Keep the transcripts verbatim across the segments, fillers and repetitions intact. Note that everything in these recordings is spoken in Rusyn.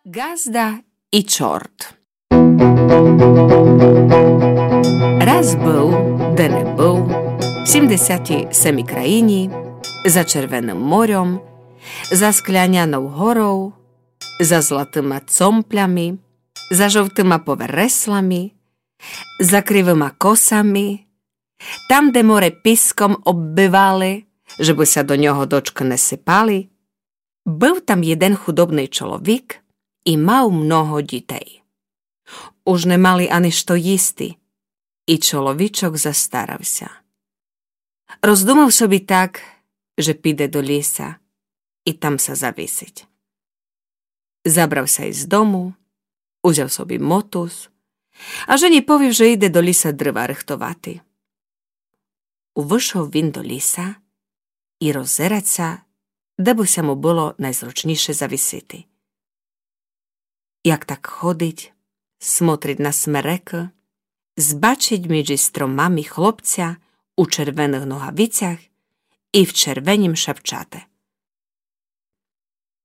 Ґазда и чорт. Раз быв, де не быв, в сімдесятій семій країні, за Червеным морьом, за Склянянов горов, за златыма цомплями, за жовтыма повереслами, за кривыма косами, там, де море піском оббивали, жебы ся до нього дочкы не сыпали, быв там єден худобный чоловік и мав много дітей. Уж не мали ани што їсти, и чоловічок застарав ся. Роздумав собі так, же піде до ліса и там ся завісить. Забрав ся из дому, узяв собі мотуз, а жені повів, же иде до ліса дрыва рыхтовати. Увышов він до ліса и роззерать ся, де бы ся му было найзручнійше завісити. Як так ходить, смотрить на смерекы, збачить між стромами хлопця у червеных ногавицях и в червенім шапчате.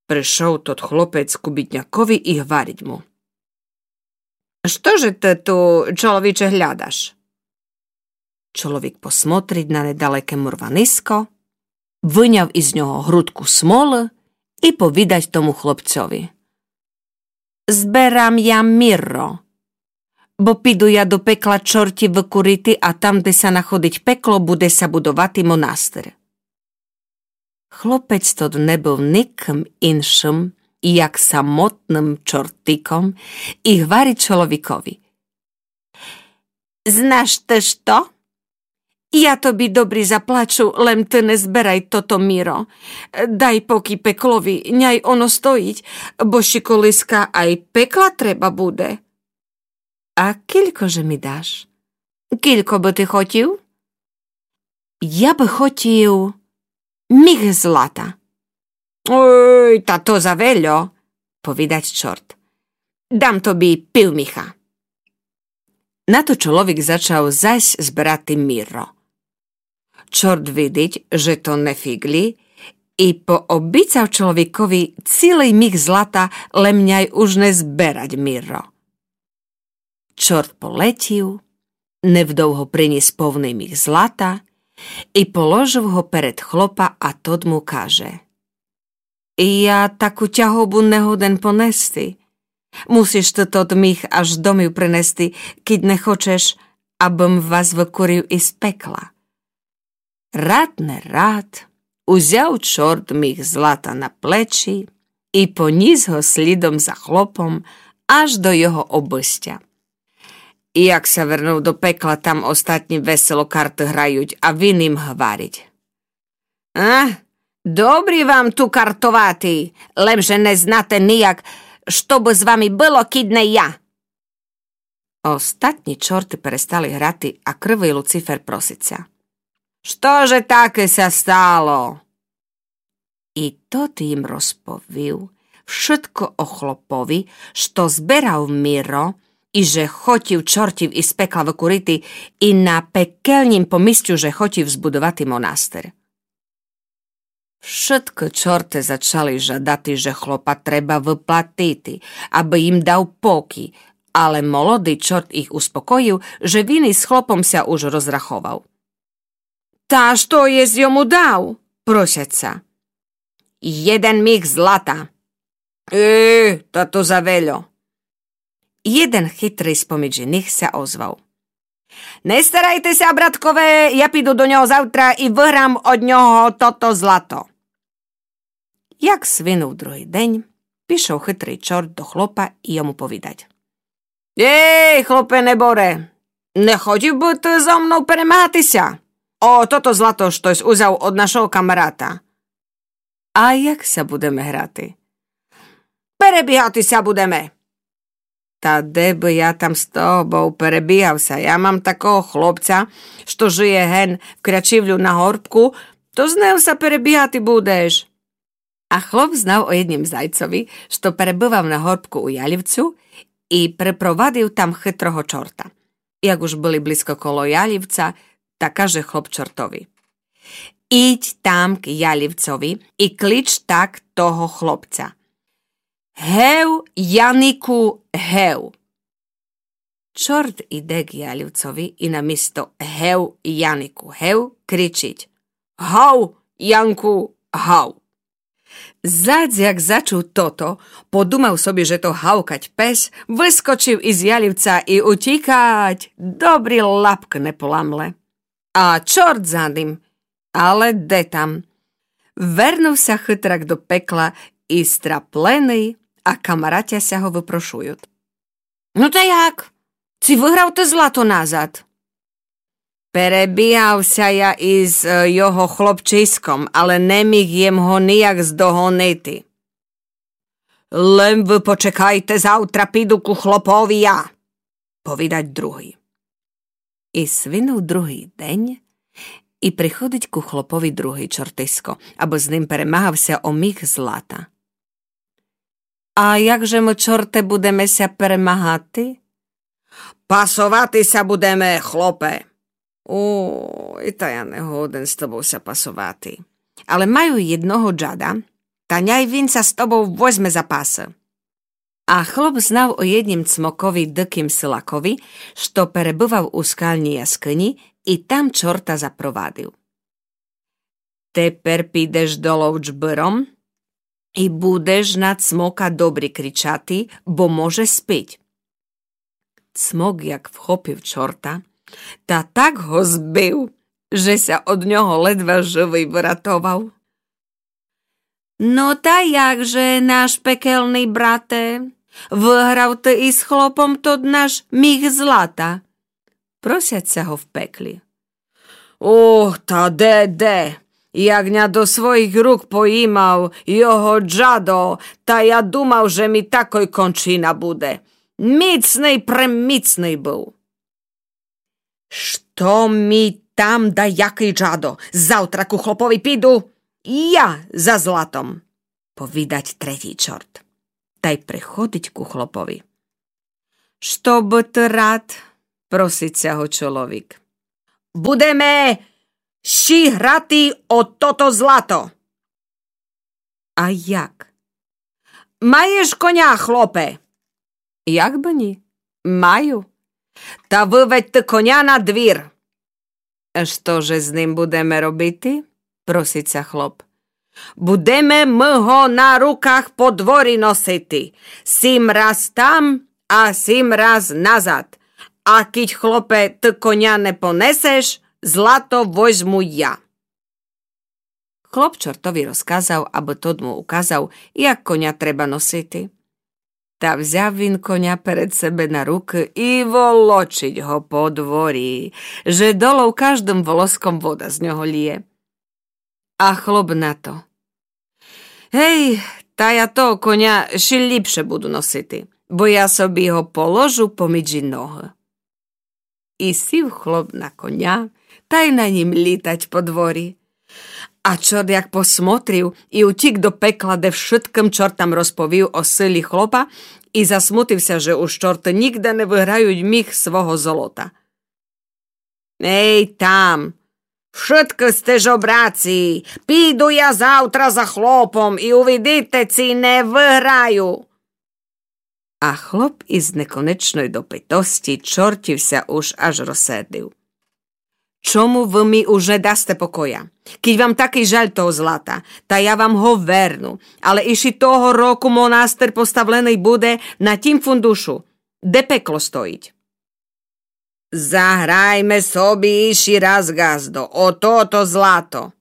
Пришов тот хлопець ку біднякові и гварить му: «Што же ты ту, чоловіче, глядаш?» Чоловік посмотрить на недалеке мурваниско, выняв из нього грудку смолы и повідать тому хлопцьови: «Зберам я мирро, бо піду я до пекла чортів выкурити, а там, де ся находить пекло, буде ся будовати монастыр». Хлопець тот не быв никым иншым, як самотным чортиком, и гварить чоловікови: «Знаш ты што? Я тобі добрі заплачу, лем ты не зберай тото миро. Дай покій пеклови, няй оно стоїть, бо ще колиска ай пекла треба буде». «А кілько же ми даш? Кілько бы ты хотів?» «Я бы хотів міх злата». «Ой, та то завельо», повідать чорт. «Дам тобі пів міха». На то чоловік зачав зась зберати мирро. Чорт видить, же то не фіґлі, и пообіцяв чоловікови цілый міх злата, лем няй уж не зберать мирро. Чорт полетів, невдовго приніс повный міх злата и положив го перед хлопа, а тот му каже: «Я таку тягову не годен понести. Мусиш ты тот міх аж домів принести, кідь не хочеш, абым вас выкурив из пекла». Рад не рад, узяв чорт міх злата на плечі и поніс го слідом за хлопом аж до його обыстя. И як ся вернув до пекла, там остатні весело карты грають, а він им гварить: «А, добрі вам ту картовати, лем же не знате нияк, што бы з вами было, кідь не я». Остатні чорты перестали грати, а кривый Луцифер просить ся: «Што же таке ся стало?» И тот им розповів вшытко о хлопови, што зберав миро, и же хотів чортів из пекла выкурити, и на пекельнім помістю же хотів збудовати монастыр. Вшыткы чорты зачали жадати, же хлопа треба выплатити, абы им дав покій, але молодый чорт их успокоїв, же він из хлопом ся уж розраховав. «Та што єсь йому дав?» просять ся. «Єден міх злата». «Е, та то завельо». Єден хитрый споміж иных ся озвав: «Не старайте ся, браткове, я піду до нього завтра и выграм од нього тото злато». Як свинув другый день, пішов хитрый чорт до хлопа и йому повідать: «Ей, хлопе неборе, не хотів бы ты зо мнов перемагати ся? О тото злато штось узяв од нашого камарата». «А як ся будеме грати?» «Перебігати ся будеме». «Та де бы я там з тобов перебігав ся? Я мам такого хлопця, што жиє ген в Крячівлю на горбку, то з ним ся перебігати будеш». А хлоп знав о єднім зайцови, што перебывав на горбку у Ялівцю, и припровадив там хитрого чорта. Як уж были близко коло Ялівця, та каже хлоп чортови: «Идь там к Ялівцови и клич так того хлопця. Гев, Янику, гев. Чорт іде к ялівцови і намісто гев, Янику, гев кричіть: Гав, Янку, гав! Зад як зачув тото, подумав собі, же то гавкать пес, выскочив из ялівца і утікать, добрі лапкы не поламле. А чорт за ним, але де там. Вернув ся хытрак до пекла і страпленый, а камаратя ся го выпрошують: Ну та як? Ци выграв ты злато назад? Перебігав ся я из е, його хлопчиськом, але не міг єм го нияк здогонити. Лем вы почекайте, завтра піду ку хлопови я, повідать другый. І свинув другый день, і приходить ку хлопови другый чортисько, абы з ним перемагав ся о міх злата. А як же мы, чорте, будеме ся перемагати? Пасовати ся будеме, хлопе. Ой, та я не годен з тобов ся пасовати. Але маю єдного джада, та няй він ся з тобов возьме за пасы. А хлоп знав о єднім цмокови дикім силакови, што перебывав у скалній яскыні, і там чорта запровадив. Тепер підеш долов джбыром і будеш на цмока добрі кричати, бо може спить. Цмок як вхопив чорта, та так го збив, же ся од нього ледва живый выратовав. Но та як же, наш пекелный брате, выграв ты из хлопом тот наш міх злата? Просять ся го в пеклі. Ох, та де, де! Як ня до своїх рук поїмав його джадо, та я думав, же ми такой кончина буде. Міцный, преміцный быв. Што ми там даякый джадо? Завтра ку хлопови піду я за златом, повідать третій чорт. Тай приходить ку хлопови. Што бы ты рад? Просить ся го чоловік. Будеме щи грати о тото злато. А як? Маєш коня, хлопе? Як бы ні? Маю. Та выведь ты коня на двір. Што же з ним будеме робити? Просить ся хлоп. Будеме мы го на руках по дворі носити. Сім раз там, а сім раз назад. А кідь, хлопе, ты коня не понесеш, злато возьму я. Хлоп чортови розказав, абы тот му указав, як коня треба носити. Та взяв він коня перед себе на рукы і волочить го по дворі, же долов каждым волоском вода з нього лє. А хлоп на то: Гей, та я того коня ще ліпше буду носити, бо я собі го положу поміджі ногы. І сів хлоп на коня, тай на нім літать по дворі. А чорт як посмотрів і утік до пекла, де вшыткым чортам розповів о силі хлопа і засмутив ся, же уж чорты нігде не выграють міх свого золота. Ей там! Вшыткы сте жобраці! Піду я завтра за хлопом і увидите, ци не выграю! А хлоп из неконечной допитости чортів ся уж аж розсердив. Чому вы ми уж не дасте покоя? Кідь вам такый жаль того злата, та я вам го верну, але ище того року монастир поставленый буде на тім фундушу, де пекло стоїть. Заграйме собі ище раз, ґаздо, о тото злато.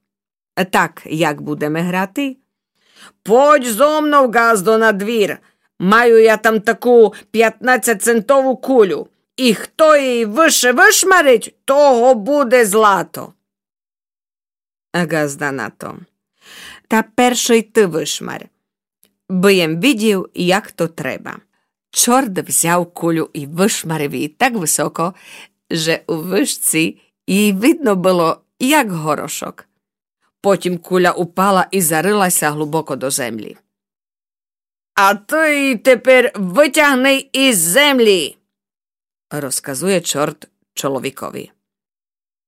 Так, як будеме грати? Подь зо мнов, ґаздо, на двір. Маю я там таку пятнадцятьцентову кулю. І хто її выше вышмарить, того буде злато. А ґазда на то: Та першый ты вышмарь, бы єм видів, як то треба. Чорт взяв кулю і вышмарив її так высоко, же у вышці її видно было, як горошок. Потім куля упала і зарыла ся глубоко до землї. А ты її тепер вытягни из землї, розказує чорт чоловікови.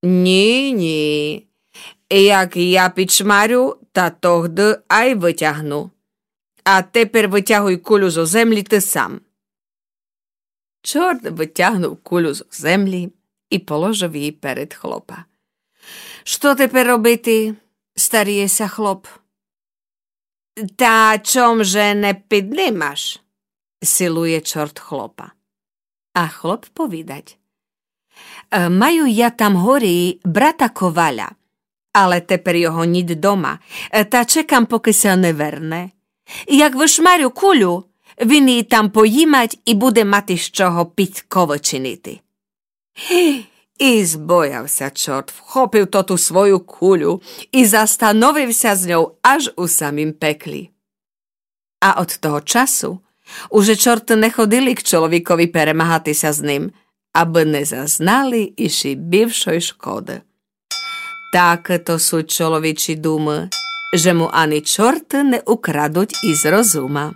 Ні, ні. Як я підшмарю, та тогды ай вытягну. А тепер вытягуй кулю зо землі ты сам. Чорт вытягнув кулю зо землі і положив її перед хлопа. Што тепер робити? Старіє ся хлоп. Та чом же не піднимаш? Силує чорт хлопа. А хлоп повідать: «Е, маю я там горі брата коваля, але тепер його нїт дома, е, та чекам, покы ся не верне. Як вышмарю кулю, він її там поїмать і буде мати з чого піцковы чинити». І збояв ся чорт, вхопив тоту свою кулю і застановив ся з ньов аж у самім пеклі. А од того часу уже чорты не ходили к чоловікови перемагати ся з ним, абы не зазнали іщи бівшой шкоды. Такы то суть чоловічі думы, же му ани чорты не украдуть из розума.